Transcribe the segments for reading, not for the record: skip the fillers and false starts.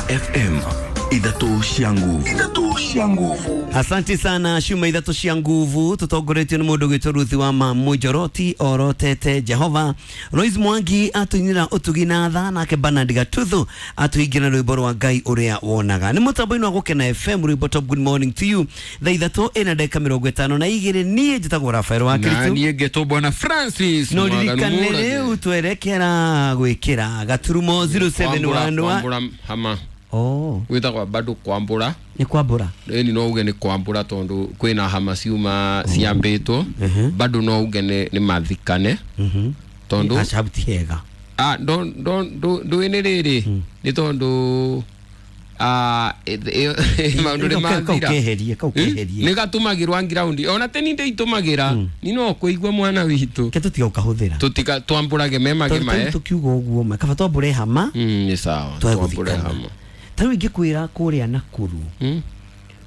FM, ithatũ cia nguvu, ithatũ cia nguvu. Asante sana ciuma ithatũ cia nguvu tutongoretio nĩ mũndũ gwĩtwo Ruth wa Mamũnjoroti orotete Jehova. Lois Mwangi atũinĩra ũtugi na tha, nake Bernard Gatuthu atũhingĩra rwĩmbo rwa Ngai ũrĩa wonaga. Nĩ mũtambo-inĩ wa Gũkena FM, rwĩmbo top. Good morning to you. Thaa 3 ĩna ndagĩka 52. Niĩ njĩtagwo Rafael wa Na Kristo. niĩ ngetwo Bwana Francis. No Mwaganu ririkane Mũrage. rĩu twerekera gwĩkĩra gaturumo 071. Kwambũra hama. Oh. Gwĩtagwo bado kwambũra. Nĩ kwambũra. Ĩni no uge nĩ kwambũra tondũ kwĩna hama ciuma ciambĩtwo. Bado no uge nĩ mathikane tondũ aca ti hega. Ah, ndũĩ nĩ rĩrĩ nĩ tondũ ah, maũndũ nĩ Kau mathira. keherie, kau keherie. Nĩ gatũmagĩrwa ngiraundi ona teni ndĩitũmagĩra ni no kũigua mwana witũ. Ke tũtiga gũkahũthĩra. Tũtika twambũrage memage Tondũ mae. tũkiuga ũguo ma kaba twambũre hama. Nĩ sawa. Twage Twambũre gũthikana. hama. Ta rĩu ingĩkwĩra kũrĩa Nakuru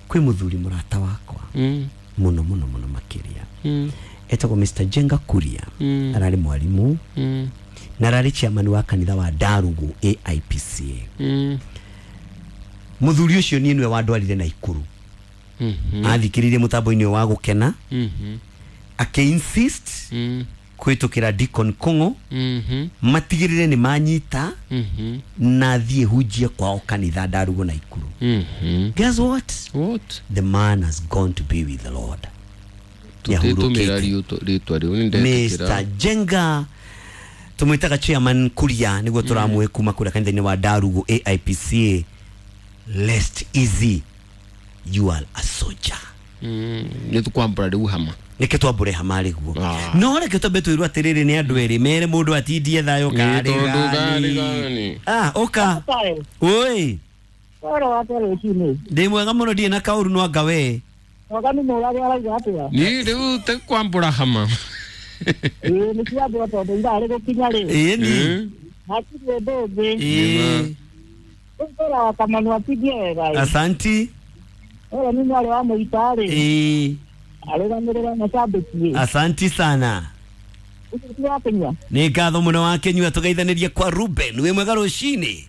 kwĩ mũthuri mũrata wakwa mũno mũno mũno makĩria, etagwo Mr Jenga Kuria. Ararĩ mwarimũ na ararĩ chairman wa kanitha wa Ndarugu AIPCA. Mũthuri ũcio niĩ nĩwe wandwarire Naikuru. Athikĩrĩirie mũtambo-inĩ ũyũ wa Gũkena, akĩ-insist kũhĩtũkĩra Deacon Kũng'ũ matigĩrĩre nĩ manyita na thiĩ hunjie kwao kanitha Ndarugu Naikuru. Guess what? What? The man has gone to be with the Lord. Tũtĩtũmĩra Nĩahurũkĩte. rĩtwa rĩu nĩ ndetĩkĩra. Mr Jenga tumwitaga chairman Kuria niguo turamwe kuma kuria kanitha-inĩ wa Ndarugu AIPCA. Rest easy, you are a soldier. Nĩ tũkwambũra rĩu hama. Nĩkĩ twambũre hama rĩguo? Ah. No reke twambe twĩrwo atĩrĩrĩ, nĩ andũ erĩ mere mũndũ atindie thayũ. Nĩ tondũ Karĩ karĩ gani? gani? Ah, ũka oi. Oro wa rũcinĩ. Ndĩ mwega mũno, ndirĩ na kaũru no anga we. Mwaganu mũrage arauga atĩa? Ni rĩu tũkwambũra hama. Ĩĩ, nĩ ciambũra tondũ ithaa rĩgũkinya rĩ. Ĩni. Hatirĩ ũndũ ũngĩ. Ĩĩ. Rĩu wa Kamanu atindie wega ĩ. Asanti. Oro nĩ mwarĩ wa mũita rĩ. Ĩĩ. Arũgamĩrĩra macambĩki ĩ. Asanti sana. Ũcio ti wa kũnyua. Nĩ ngatho mũno wa kĩnyua. Tũgeithanĩrie kwa Ruben. Wĩ mwega rũcinĩ?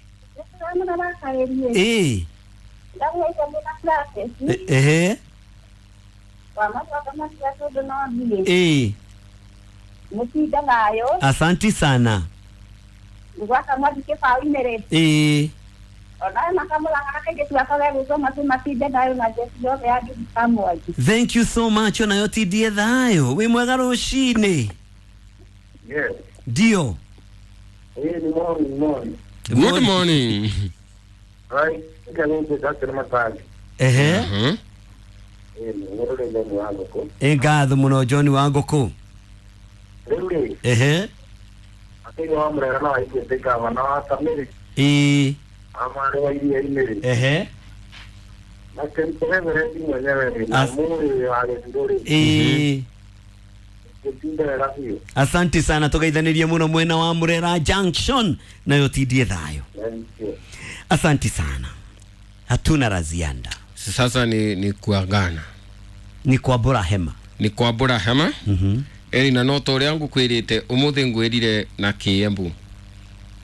Ĩĩ. Ehe. Ĩĩ. Mũtinda nayo. Asanti sana. Gwaka mwathi kĩbaũ-inĩ rĩ. Ĩĩ. Onayo makamũraga kairĩtu gakwa gegwĩtwo matu matinde nayo na njeci yothe ya ngiri kamwangi. Thank you so much. Onayo tindie thayũ. Wĩ mwega rũcinĩ? Yes. Ndio. Hey, ni morning, morning. Good morning. Right. Nikarundi Dr. Matagi. Ehe. Eh, ni ngorore John wa ngũkũ. Ĩ ngatho mũno John wa ngũkũ. Rĩu rĩ, Ehe. akĩrĩ wa Murera na waiguĩte gavana wa Kamĩrĩ, Ĩĩ. amarĩ wa iria-inĩ rĩ. Ehe. Na Reverend mwenyewe rĩ, na mũrĩ wa gĩthurũ rĩ, Ĩĩ. gĩtinde wega biũ. Asante sana, tũgeithanĩrie mũno mwena wa Murera Junction, nayo tindie thayũ. Thank you. Asante sana, hatuna la ziada. Sasa ni kuagana. Ni kwambũra hema. Nĩ kwambũra hama. Ĩni na no ta ũrĩa ngũkwĩrĩte ũmũthĩ ngwĩrire na kĩembu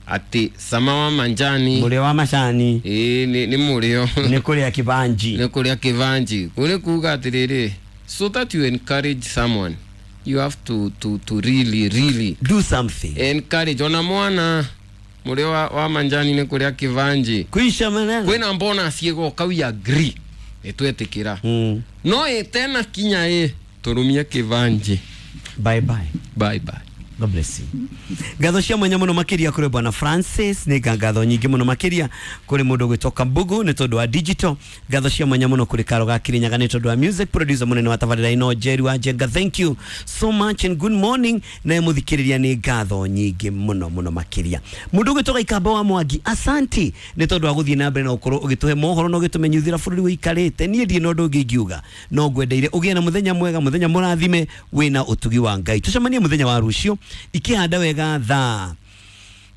atĩ cama wa manjani. Mũrĩo wa macani. Ĩĩ, nĩ mũrĩo. Nĩ kũrĩa kĩbanji. Nĩ kũrĩa kĩbanji kũrĩ kuga atĩrĩrĩ, so that you encourage someone you have to really really do something. Encourage ona mwana mũrĩo wa manjani nĩ kũrĩa kĩbanji. Kuisha maneno. Kwĩna mbona ciĩgoka, we agree, nĩ twetĩkĩra. No ĩ tena kinya ĩ tũrũmie kĩbanji. Bye bye. Bye bye. God bless you. Ngatho cia mwanya mũno makĩria kũrĩ bwana Francis, nĩ ngatho nyingĩ mũno makĩria kũrĩ mũndũ ũgwĩtwo Kambugu nĩ tondũ wa digital. Ngatho cia mwanya mũno kũrĩ Karo ga Kirinyaga nĩ tondũ wa music producer mũnene wa tabarĩra ĩno Jerry wa Njenga. Thank you so much and good morning. Naye mũthikĩrĩria nĩ ngatho nyingĩ mũno mũno makĩria. Mũndũ ũgwĩtwo Gaikamba wa Mwangi, asanti nĩ tondũ wa gũthiĩ na mbere na gũkorwo ũgĩtũhe mohoro na ũgĩtũmenyithĩra bũrũri ũikarĩte. Niĩ ndirĩ na ũndũ ũngĩ ingiuga no ngwendeire ũgĩe na mũthenya mwega, mũthenya mũrathime wĩna ũtugi wa Ngai. Tũcemanie mũthenya wa rũciũ ikĩhanda wega thaa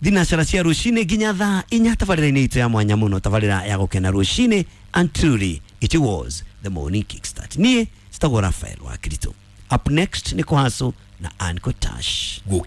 thinacara cia rũcinĩ nginya thaa 4 tabarĩra-inĩ itũ ya mwanya mũno, tabarĩra ya Gũkena rũcinĩ. And truly it was the morning kickstart. Niĩ citagwo Rafael wa Kirito. Up next nĩ kũhaco na Ann Kotash. Gũkena.